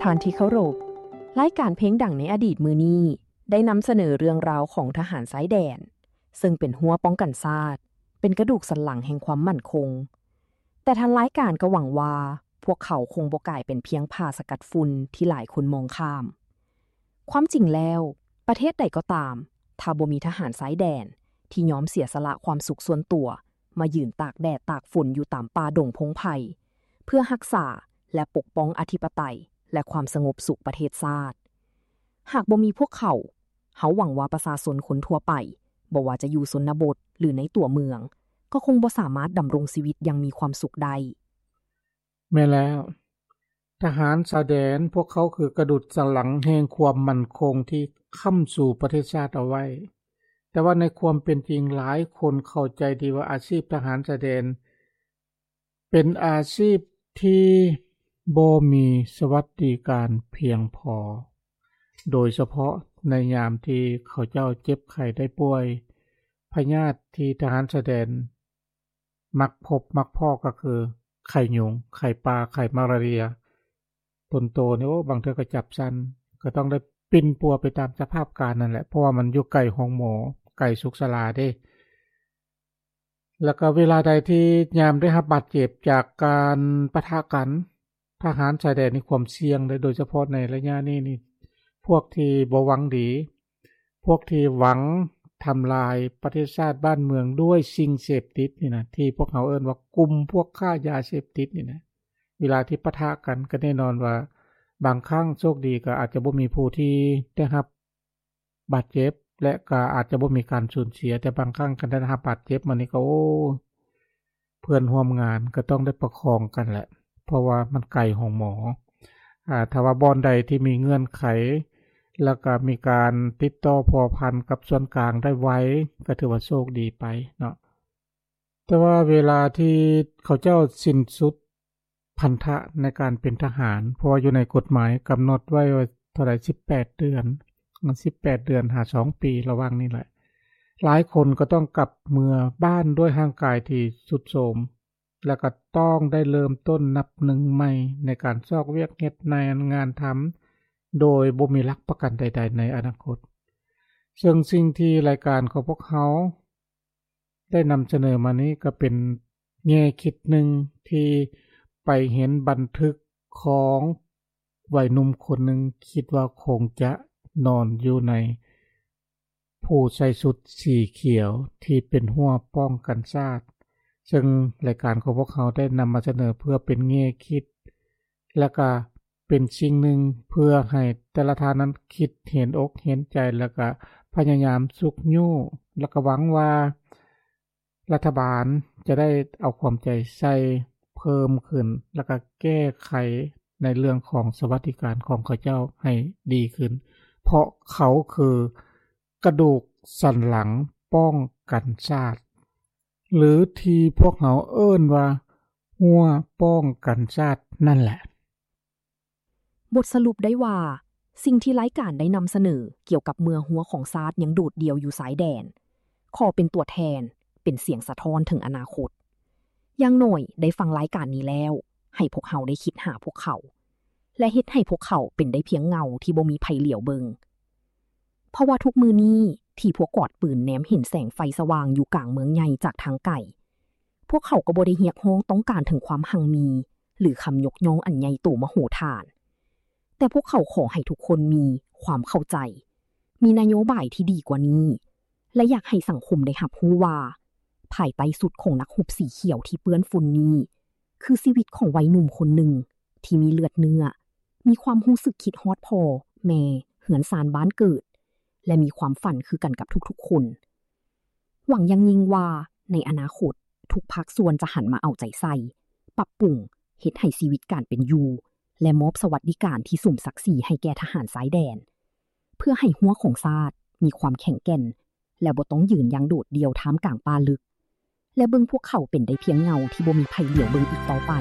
ທ່ານທີ່ເຄົາລົບ, ລາຍການເພງດັງໃນອະດີດມື້ນີ້ ໄດ້ນຳສະເໜີເລື່ອງລາວຂອງທະຫານຊາຍແດນ, ເຊິ່ງເປັນຮົ້ວປ້ອງກັນຊາດ, ເປັນກະດູກສັນຫຼັງແຫ່ງຄວາມໝັ້ນຄົງ. ແຕ່ທາງລາຍການກໍຫວັງວ່າ ພວກເຂົາຄົງບໍ່ກາຍເປັນພຽງຜ້າສະກັດຝຸ່ນທີ່ຫຼາຍຄົນມອງຂ້າມ. ຄວາມຈິງແລ້ວ, ປະເທດໃດກໍຕາມ, ຖ້າບໍ່ມີທະຫານຊາຍແດນທີ່ຍອມເສຍສະຫຼະຄວາມສຸກສ່ວນຕົວ ມາຢືນຕາກແດດຕາກຝົນຢູ່ຕາມປ່າດົງພົງໄພ ເພື່ອຮັກສາ ແລະ ປົກປ້ອງອະທິປະໄຕ ແລະ ຄວາມສະຫງົບສຸກປະເທດຊາດ. ຫາກບໍ່ມີພວກເຂົາ, ເຮົາຫວັງວ່າປະຊາຊົນຄົນທົ່ວໄປ, ບໍ່ວ່າຈະຢູ່ຊົນນະບົດ ຫຼື ໃນຕົວເມືອງ, ກໍຄົງບໍ່ສາມາດດຳລົງຊີວິດຢ່າງມີຄວາມສຸກໄດ້. ແມ່ນແລ້ວ. ທະຫານຊາຍແດນ ພວກເຂົາຄືກະດູກສັນຫຼັງແຫ່ງຄວາມໝັ້ນຄົງທີ່ຄ້ຳຊູປະເທດຊາດເອົາໄວ້. ແຕ່ວ່າໃນຄວາມເປັນຈິງ, ຫຼາຍຄົນເຂົ້າໃຈດີວ່າອາຊີບທະຫານຊາຍແດນ ເປັນອາຊີບທີ່ບໍ່ມີສະຫວັດດີການພຽງພໍ, ໂດຍສະເພາະໃນຍາມທີ່ເຂົາເຈົ້າເຈັບໄຂ້ໄດ້ປ່ວຍ, ພະຍາດທີ່ທະຫານຊາຍແດນມັກພົບມັກພໍ້ກໍຄືໄຂ້ຍຸງ, ໄຂ້ປ່າ, ໄຂ້ມາລາເຣຍ. ຕົນໂຕນີ້, ໂອ້, ບາງເທື່ອກໍຈັບສັ່ນ, ກໍຕ້ອງໄດ້ປິ່ນປົວໄປຕາມສະພາບການນັ້ນແຫຼະ, ເພາະວ່າມັນຢູ່ໄກໂຮງໝໍ, ໄກສຸກສາລາເດ້. ແລ້ວກໍເວລາໃດທີ່ຍາມໄດ້ຮັບບາດເຈັບຈາກການປະທະກັນ, ທະຫານຊາຍແດນມີຄວາມສ່ຽງເດ້, ໂດຍສະເພາະໃນໄລຍະນີ້ນີ້, ພວກທີ່ບໍ່ຫວັງດີ, ພວກທີ່ຫວັງທຳລາຍປະເທດຊາດບ້ານເມືອງດ້ວຍສິ່ງເສບຕິດນີ້ນະ, ທີ່ພວກເຮົາເອີ້ນວ່າກຸ່ມພວກຄ້າຢາເສບຕິດນີ້ນະ, ເວລາທີ່ປະທະກັນ ກໍແນ່ນອນວ່າບາງຄັ້ງໂຊກດີກໍອາດຈະບໍ່ມີຜູ້ທີ່ໄດ້ຮັບ ບາດເຈັບ ແລະ ກໍອາດຈະບໍ່ມີການສູນເສຍ, ແຕ່ບາງຄັ້ງຄັນໄດ້ຮັບບາດເຈັບມານີ້ກໍ ໂອ້ ເພື່ອນຮ່ວມງານກໍຕ້ອງໄດ້ປະຄອງກັນແຫຼະ, ເພາະວ່າມັນໄກໂຮງໝໍ. ອາ ຖ້າວ່າບ່ອນໃດທີ່ມີເງື່ອນໄຂ ແລ້ວກໍມີການຕິດຕໍ່ພົວພັນກັບສ່ວນກາງໄດ້ໄວ ກໍຖືວ່າໂຊກດີໄປເນາະ. ແຕ່ວ່າເວລາທີ່ເຂົາເຈົ້າສິ້ນສຸດພັນທະໃນການເປັນທະຫານ, ເພາະວ່າຢູ່ໃນກົດໝາຍກຳນົດໄວ້ວ່າເທົ່າໃດ ສິບແປດເດືອນ, ສິບແປດເດືອນຫາສອງປີ ລະຫວ່າງນີ້ແຫຼະ, ຫຼາຍຄົນກໍຕ້ອງກັບເມືອບ້ານດ້ວຍຮ່າງກາຍທີ່ຊຸດໂຊມ, ແລະ ກໍຕ້ອງໄດ້ເລີ່ມຕົ້ນນັບໜຶ່ງໃໝ່ໃນການຊອກວຽກເຮັດ ໃນງານທຳ ໂດຍບໍ່ມີຫຼັກປະກັນໃດໆໃນອະນາຄົດ. ເຊິ່ງສິ່ງທີ່ລາຍການຂອງພວກເຮົາ ໄດ້ນຳສະເໜີມານີ້ກໍເປັນແງ່ຄິດໜຶ່ງທີ່ໄປເຫັນບັນທຶກຂອງໄວໜຸ່ມຄົນໜຶ່ງ, ຄິດວ່າຄົງຈະນອນຢູ່ໃນຜູ້ໃສ່ຊຸດສີຂຽວທີ່ເປັນຮົ້ວປ້ອງກັນຊາດ, ເຊິ່ງລາຍການຂອງພວກເຮົາໄດ້ນຳມາສະເໜີເພື່ອເປັນແງ່ຄິດ ແລະ ກະເປັນສິ່ງໜຶ່ງເພື່ອໃຫ້ແຕ່ລະທ່ານນັ້ນຄິດເຫັນອົກເຫັນໃຈ ແລະ ກະພະຍາຍາມຊຸກຍູ້ ແລະ ກະຫວັງວ່າລັດຖະບານຈະໄດ້ເອົາຄວາມໃຈໃສ່ເພີ່ມຂຶ້ນ ແລະ ກະແກ້ໄຂໃນເລື່ອງຂອງສະຫວັດດີການຂອງເຂົາເຈົ້າໃຫ້ດີຂຶ້ນ, ເພາະເຂົາຄືກະດູກສັນຫຼັງປ້ອງກັນຊາດ ຫຼື ທີ່ພວກເຮົາເອີ້ນວ່າຮົ້ວປ້ອງກັນຊາດນັ້ນແຫຼະ. ບົດສະຫຼຸບໄດ້ວ່າ, ສິ່ງທີ່ລາຍການໄດ້ນຳສະເໜີກ່ຽວກັບເມື່ອຮົ້ວຂອງຊາດຍັງໂດດດ່ຽວຢູ່ຊາຍແດນ, ຂໍເປັນຕົວແທນ, ເປັນສຽງສະທ້ອນເຖິງອະນາຄົດ. ຢ່າງໜ້ອຍໄດ້ຟັງລາຍການນີ້ແລ້ວ, ໃຫ້ພວກເຮົາໄດ້ຄິດຫາພວກເຂົາ ແລະ ເຮັດໃຫ້ພວກເຂົາເປັນໄດ້ພຽງເງົາທີ່ບໍ່ມີໃຜຫຼຽວເບິ່ງ. ເພາະວ່າທຸກມື້ນີ້ທີ່ພວກກອດປືນແນມເຫັນແສງໄຟສະຫວ່າງຢູ່ກາງເມືອງໃຫຍ່ຈາກທາງໄກ, ພວກເຂົາກໍບໍ່ໄດ້ຮຽກຮ້ອງຕ້ອງການເຖິງຄວາມຮັ່ງມີ ຫຼື ຄຳຍົກຍ້ອງອັນໃຫຍ່ໂຕມະໂຫຖານ, ແຕ່ພວກເຂົາຂໍໃຫ້ທຸກຄົນມີຄວາມເຂົ້າໃຈ, ມີນະໂຍບາຍທີ່ດີກວ່ານີ້ ແລະ ຢາກໃຫ້ສັງຄົມໄດ້ຮັບຮູ້ວ່າ ພາຍໃຕ້ຊຸດຂອງນັກຮົບສີຂຽວທີ່ເປື້ອນຝຸ່ນນີ້ ຄືຊີວິດຂອງໄວໜຸ່ມຄົນໜຶ່ງທີ່ມີເລືອດເນື້ອ, ມີຄວາມຮູ້ສຶກຄິດຮອດພໍ່, ແມ່, ເຮືອນຊານບ້ານເກີດ ແລະ ມີຄວາມຝັນຄືກັນກັບທຸກໆຄົນ. ຫວັງຢ່າງຍິ່ງວ່າໃນອະນາຄົດ, ທຸກພາກສ່ວນຈະຫັນມາເອົາໃຈໃສ່, ປັບປຸງ, ເຮັດໃຫ້ຊີວິດການເປັນຢູ່ ແລະ ມອບສະຫວັດດີການທີ່ສົມສັກສີໃຫ້ແກ່ທະຫານຊາຍແດນ, ເພື່ອໃຫ້ຮົ້ວຂອງຊາດມີຄວາມແຂງແກ່ນ ແລະ ບໍ່ຕ້ອງຢືນຢ່າງໂດດດ່ຽວທ່າມກາງປ່າລຶກ ແລະ ເບິ່ງພວກເຂົາເປັນໄດ້ພຽງເງົາທີ່ບໍ່ມີໃຜຫຼຽວເບິ່ງອີກຕໍ່ໄປ.